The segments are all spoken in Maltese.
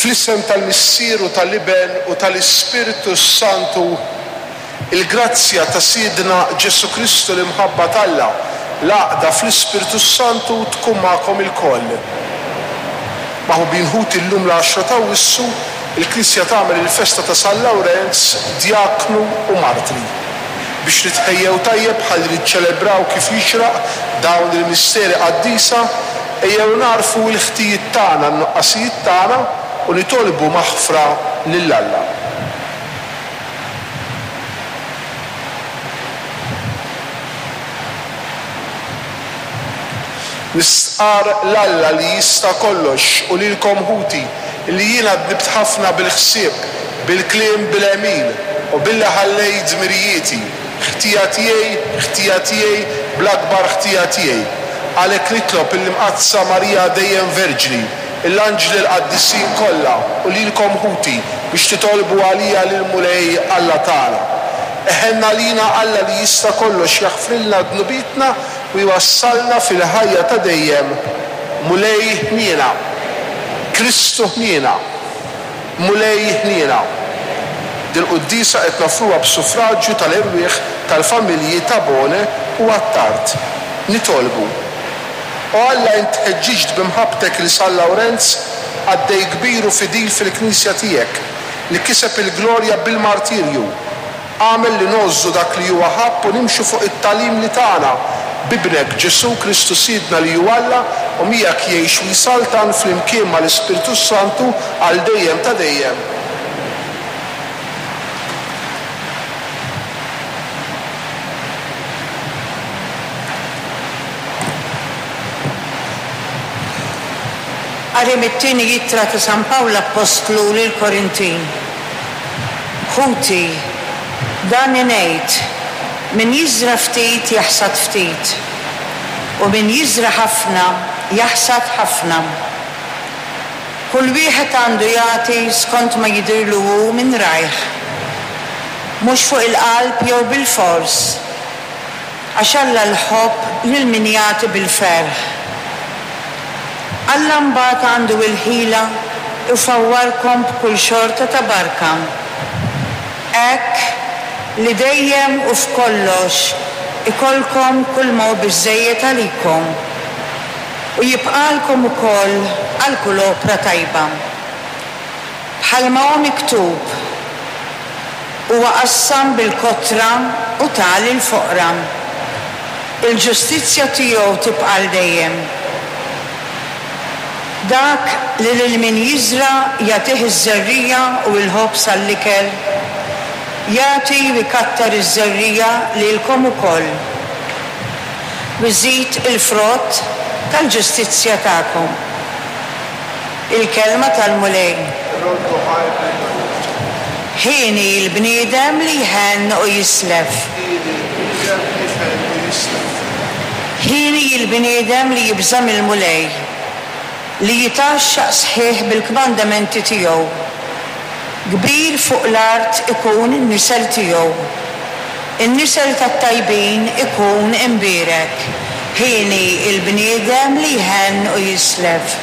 Fl-isem tal-Missier u tal-Iben u tal-Ispirtu s-Santu, il-grazzja ta' Sidna Ġesù Kristu, l-imħabba t'Alla, l-għaqda fl-Ispirtu s-Santu tkun magħkom ilkoll. Maħbubin ħuti llum l-għaxra t'Awwissu, il-Knisja tagħmel il-festa ta' San Lawrenz, djaknu u martri. Biex nitħejjew tajjeb ħalli niċċelebraw kif jixraq dawn il-misteri qaddisa, ejjew nagħrfu l-ħtijiet tagħna, n-nuqqasijiet tagħna u nitolbu maħfra lil Alla. Nistqarr 'l Alla li jista' kollox u lilkom ħuti, li jiena dnibt ħafna bil-ħsieb, bil-kliem, bil-għemil, u billi ħallejt dmirijieti. Ħtija tiegħi, ħtija tiegħi, bl-akbar ħtija tiegħi. Għalhekk nitlob lill-Imqaddsa Marija dejjem Verġni, l-anġli l-qaddisin kollha u lilkom ħuti biex titolbu għalija lill-Mulej Alla tagħna. Iħenn għalina Alla li jista' kollox jaħfrilna dnubietna u jwassalna fil-ħajja ta' dejjem. Mulej ħniena. Kristu ħniena. Mulej ħniena. Dil-quddiesa qed noffruha b'suffraġju tal-erwieħ tal-familji Tabone u Attard. Nitolbu. O Alla int ħeġġiġt bi mħabbtek 'il San Lawrenz, qaddej kbir u fidil fil-Knisja tiegħek, li kiseb il-glorja bil-martirju. Agħmel li ngħożżu dak li huwa ħabb u nimxu fuq it-tagħlim li tana b'Ibnek Ġesù Kristu Sidna li hu Alla u miegħek jgħix u jsaltan flimkien mal-Ispirtu s-Santu għal dejjem ta' dejjem. Qari mit-tieni ittra ta' San Pawl Appostlu lill-Korintin. Ħuti, dan ingħid, min jiżra' ftit jaħsad ftit, u min jiżra' ħafna jaħsad ħafna. Kull wieħed għandu jagħti skont ma jidhirlu hu minn rajh, mhux fuq il-qalb jew bilfors, Għax Alla jħobb lil min jagħti bil-ferħ. Alla mbagħad għandu l-ħila jfawwarkom b'kull xorta ta' barka, hekk li dejjem u f'kollox ikollkom kulma hu biżżejjed għalikom, u jibqagħlkom ukoll għal kull opra tajba. Bħalma hu miktub, Huwa qassam bil-kotra u ta lill-foqra. Il-ġustizzja tiegħu tibqa' għal dejjem. Dak li lil min jiżra' jagħtih iż-żerriegħa u l-ħobż għall-ikel, jagħti u jkattar iż-żerriegħa lilkom ukoll, u jżid il-frott tal-ġustizzja tagħkom. Il-Kelma tal-Mulej. Irroddu ħajr lill-Mulej. Hieni l-bniedem li jħenn u jislef. Hieni l-bniedem li jħenn u jislef. Hieni l-bniedem li jibża' mill-Mulej, li jitgħaxxaq sħiħ bil-kmandamenti tiegħu. Kbir fuq l-art ikun in-nisel tiegħu. In-nisel tat-tajbin ikun imbierek. Hieni l-bniedem li jħenn u jislef.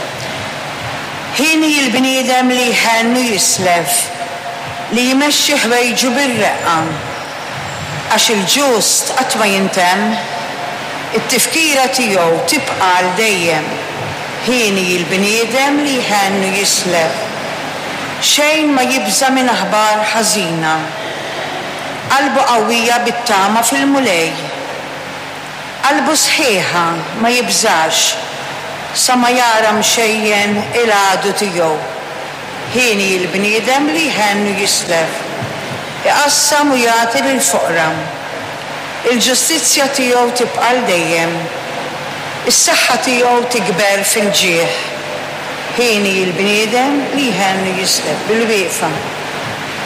Hieni l-bniedem li jħenn u jislef, li jmexxi ħwejġu bir-reqqa. Għax il-ġust qatt ma jintemm, it-tifkira tiegħu tibqa' għal dejjem. Hieni l-bniedem li jħenn u jislef. Xejn ma jibża' minn aħbar ħażina. Qalbu qawwija bit-tama fil-Mulej. Qalbu sħiħa, ma jibżax, sa ma jara mxejjen il-għadu tiegħu. Hieni l-bniedem li jħenn u jislef, iqassam u jagħti lill-foqra. Il-ġustizzja tiegħu tibqa' għal dejjem, is-saħħa tiegħu tikber fil-ġieħ. Hieni l-bniedem li jħenn u jislef. Bilwieqfa.